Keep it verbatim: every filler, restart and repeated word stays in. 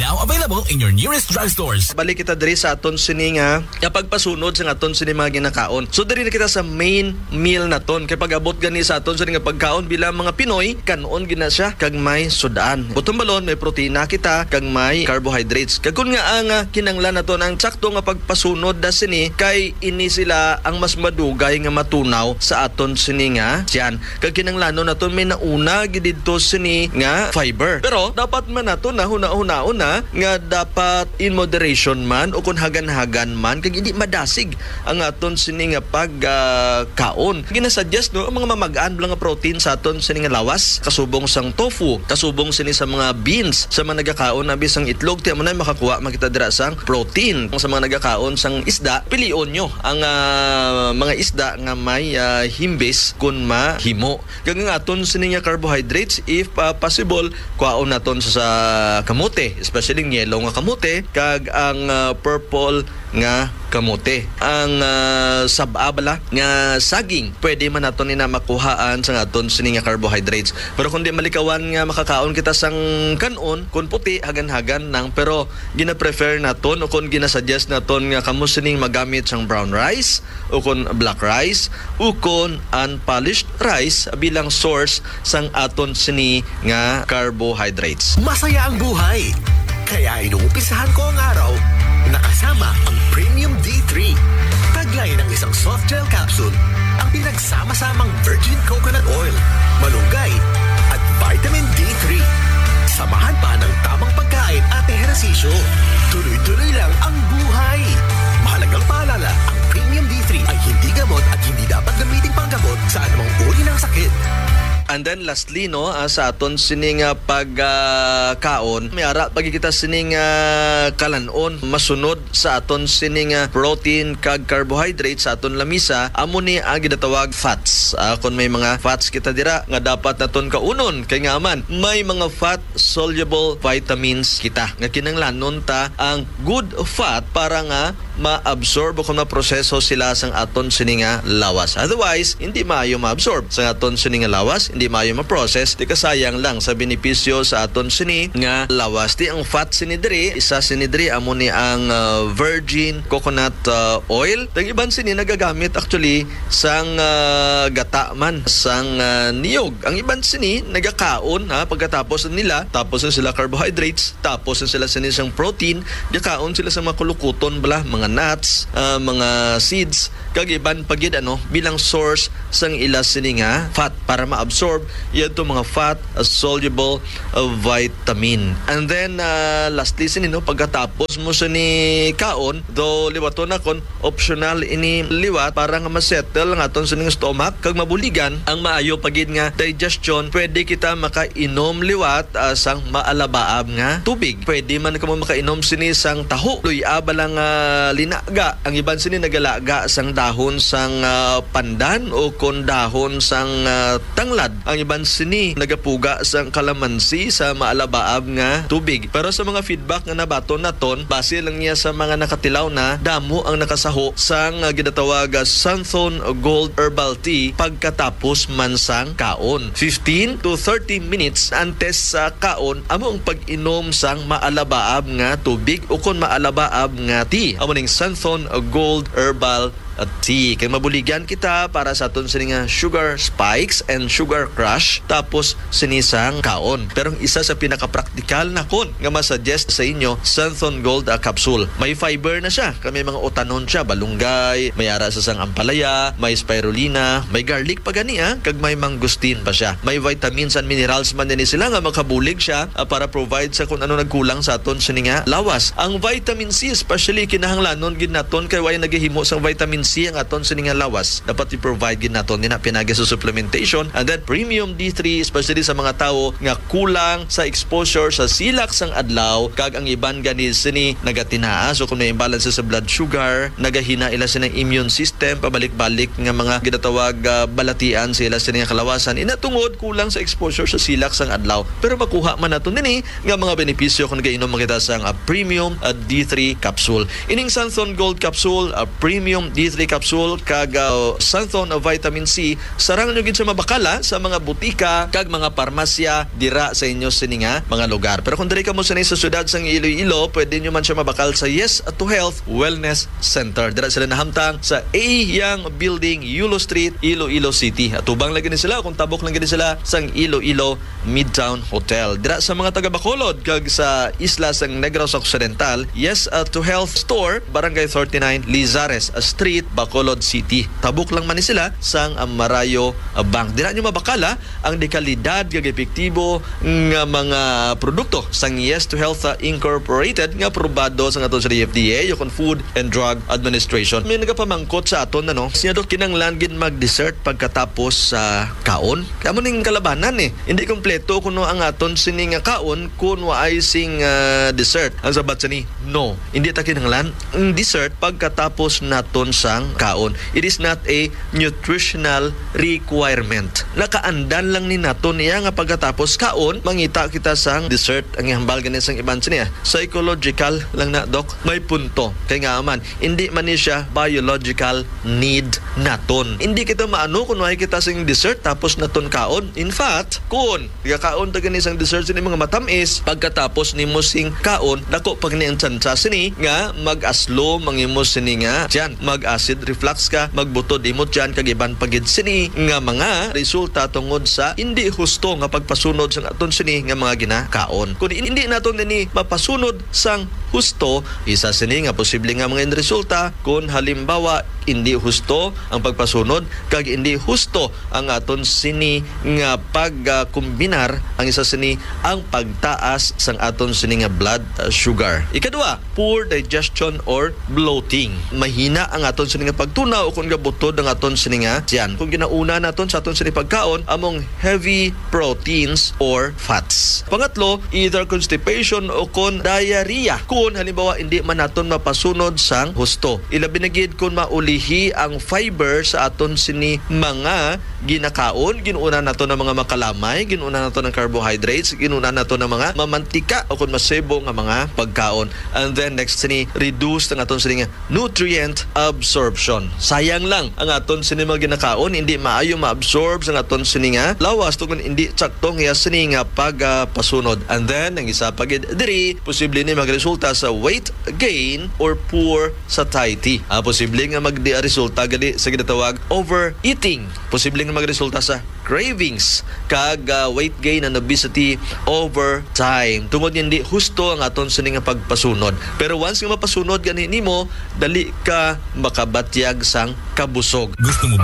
Now available in your nearest drugstores. Balik kita diri sa aton sini nga, nga pagpasunod sa aton sini mga ginakaon. So, diri na kita sa main meal naton. Kay pag-abot gani sa aton sini nga pagkaon bilang mga Pinoy, kan-on gina siya kag may sudan. Buton balon, may protina kita kag may carbohydrates. Kag kun nga ang, ah, kinanglan naton ang sakto nga pagpasunod da sini, kay ini sila ang mas madugay nga matunaw sa aton sini nga tiyan. Kag kinanglanon naton may nauna gid didto sini nga fiber. Pero dapat man nato na hunahunaon na nga dapat in moderation man o kun hagan-hagan man, kag hindi madasig ang aton sini nga pag, ah, kaon. Ginasuggest, no, ang mga mamag-an lang nga protein sa aton sini nga lawas, kasubong sang tofu, kasubong sini sa mga beans, sa mga nagakaon abi sang itlog, ti amo na makakuha man kita dira sang protein. Sa mga nagakaon sang isda, pilion nyo ang, ah, mga isda nga may, ah, himbis kun mahimo. Kag ang aton sini nga carbohydrates, if, ah, possible, kuhaon naton sa, sa kamote, especially ang yellow nga kamote, kag ang, ah, purple nga kamote. Ang, ah, sab-a bala nga saging, pwede man naton ina makuhaan sa aton sini nga carbohydrates. Pero kung di malikawan nga makakaon kita sang kan-on, kun puti, hagan-hagan lang. Pero gina-prefer naton o kung ginasuggest naton nga kamo sining magamit sang brown rice o kon black rice o kon unpolished rice bilang source sang aton sini nga carbohydrates. Masaya ang buhay, kaya inuumpisahan ko ang araw na kasama ang Premium D three. Taglay ng isang soft gel capsule ang pinagsama-samang virgin coconut oil, malunggay, at vitamin D three. Samahan pa ng tamang pagkain at ehersisyo. Tuloy-tuloy lang ang buhay. Mahalagang paalala, ang Premium D three ay hindi gamot at hindi dapat gamitin panggamot sa anumang uri ng sakit. And then lastly, no, ah, sa aton sining, ah, pag, ah, kaon, may ara pa gid kita sining, ah, kalan-on masunod sa aton sining, ah, protein kag carbohydrate sa aton lamisa, amo ni ang ginatawag fats. Ah, kung may mga fats kita dira nga dapat naton kaunon, kay nga man may mga fat soluble vitamins kita nga kinahanglanon ta ang good fat para nga ma-absorb o kung maproseso sila sang aton sini nga lawas. Otherwise, hindi maayo ma-absorb sang aton sini nga lawas, hindi maayo ma-process. Di kasayang lang sa benepisyo sa aton sini nga lawas. Di ang fat sini diri, isa sini diri amo ni ang, ah, virgin coconut, ah, oil. Ang iban sini nagagamit actually sang, ah, gata man sang, ah, niyog. Ang iban sini nagakaon, ha, pagkatapos nila, tapos na sila carbohydrates, tapos na sila sini sang protein, gakaon sila sa mga kulukuton bala, mga nuts, ah, mga seeds, kag iban pa gid, ano, bilang source sang ila sini nga fat para ma-absorb yadto mga fat, ah, soluble, ah, vitamin. And then, ah, lastly sini, no, pagkatapos mo sini kaon, though liwaton na kon optional ini liwat para nga ma-settle ang aton sining stomach kag mabuligan ang maayo pa gid nga digestion. Pwede kita makainom liwat, ah, sang maalabaab nga tubig. Pwede man kamo makainom sini sang taho, luy-a bala nga linaga. Ang iban sini nagalaga sang dahon sang, ah, pandan o kon dahon sang, ah, tanglad. Ang iban sini nagapuga sang kalamansi sa maalabaab nga tubig. Pero sa mga feedback nga nabaton naton, base lang niya sa mga nakatilaw na, damo ang nakasaho sang, ah, ginatawag, ah, Santhon Gold Herbal Tea pagkatapos man sang kaon. Fifteen to thirty minutes antes sa kaon, amo ang pag-inom sang maalabaab nga tubig o kon maalabaab nga tea. Amo ning Santhon Gold Herbal Tea. Kay mabuligan kita para sa aton sini nga sugar spikes and sugar crash, tapos sini sang kaon. Pero ang isa sa pinakapraktikal nakon nga masuggest sa inyo, Santhon Gold, ah, capsule. May fiber na siya, kay may mga utanon siya, balunggay, may ara sa sang ampalaya, may spirulina, may garlic pa gani, ah, kag may mangosteen pa siya. May vitamins and minerals man din sila nga makabulig siya, ah, para provide sa kung ano nagkulang sa aton sini nga lawas. Ang vitamin C, especially, kinahanglanon gid naton kay way nagahimo sang vitamin C ang aton sini nga lawas. Dapat i-provide gid naton nina pinagi sa supplementation. And then premium D three, especially sa mga tawo nga kulang sa exposure sa silak sang adlaw, kag ang iban gani sini nagatinaa. So kung may imbalance sa blood sugar, nagahina ila sini immune system, pabalik-balik nga mga ginatawag, ah, balatian sa ila sini nga kalawasan. Ina tungod kulang sa exposure sa silak sang adlaw. Pero makuha man nato nini nga mga benepisyo kung nagainom man kita sang, ah, premium, ah, D three capsule. Ining Santhon Gold capsule, ah, premium D three capsule kag uh, Santhon Vitamin C. Sarang nyo gid siya mabakala sa mga butika kag mga parmasya dira sa inyo sini nga mga lugar. Pero kung diri kamo sini sa siyudad sang Iloilo, pwede nyo man siya mabakal sa Yes to Health Wellness Center. Dira sila nahamtang sa A Yang Building, Yulo Street, Iloilo City. Atubang lagi ni sila kung tabok lang gid sila sang Iloilo Midtown Hotel. Dira sa mga taga Bacolod kag sa isla sang Negros Occidental, Yes uh, to Health Store, Barangay thirty-nine, Lizares Street, Bacolod City. Tabok lang man ni sila sang uh, Marayo uh, Bank. Dira nyo mabakala ang dekalidad kag epektibo nga mga produkto sang Yes to Health uh, Incorporated nga aprobado sang aton sa D F D A, o kon Food and Drug Administration. May nagapamangkot sa aton, ano, siya do kinanglan gid mag-dessert pagkatapos sa kaon? Kamo ning kalabanan eh. Hindi kompleto kuno ang aton sini nga kaon kun waay sing ah, dessert. Ang sabat sini, no. Hindi ta kinahanglan ang dessert pagkatapos naton sang kaon. It is not a nutritional requirement. Nakaandan lang ni naton niya nga pagkatapos kaon, mangita kita sang dessert. Ang ihambal gani sang iban sini, ah, psychological lang na, Doc. May punto. Kay nga man, hindi man ni siya biological need naton. Hindi kita maano kung waay kita sing dessert tapos naton kaon. In fact, kung gakaon ta gani sang dessert sini mga matamis, pagkatapos nimo sing kaon, dako pa gani ang tsansa sini nga mag-aslom ang imo sini nga tiyan, mag-acid reflux ka, magbutod imo tiyan, kag iban pa gid sini nga mga resulta tungod sa hindi husto nga pagpasunod sang aton sini nga mga ginakaon. Kung hindi naton ini mapasunod sang husto, isa sini nga posible nga mga resulta, kung halimbawa hindi husto ang pagpasunod kag hindi husto ang aton sini nga pagkombinar, ang isa sini ang pagtaas sang aton sini nga blood uh, sugar. Ikadua, poor digestion or bloating. Mahina ang aton sini nga pagtunaw o kung gabutod ang aton sini nga tiyan. Kung ginauna naton sa aton sini pagkaon among heavy proteins or fats. Pangatlo, either constipation o kon diarrhea. Kung halimbawa hindi man naton mapasunod sang husto. Ilabi na gid kung maulihi ang fiber sa aton sini mga ginakaon, ginuuna nato ng mga makalamay, ginuuna nato ng carbohydrates, ginuuna nato ng mga mamantika o kung masebo nga mga pagkaon. And then next sini, reduce ang aton sini nga nutrient absorption. Sayang lang ang aton sini mga ginakaon, hindi maayo ma-absorb sa aton sini nga lawas tungod hindi sakto ang iya sini nga pagpasunod. And then ang isa pa gid diri, posible ni magresulta sa weight gain or poor satiety. Ah, posible nga magdi resulta gali sa ginatawag overeating. Posible nga magresulta sa cravings kag ah, weight gain and obesity over time. Tungod nga hindi husto ang aton sini nga pagpasunod. Pero once nga mapasunod gani nimo, dali ka makabatyag sang kabusog. Gusto mo ba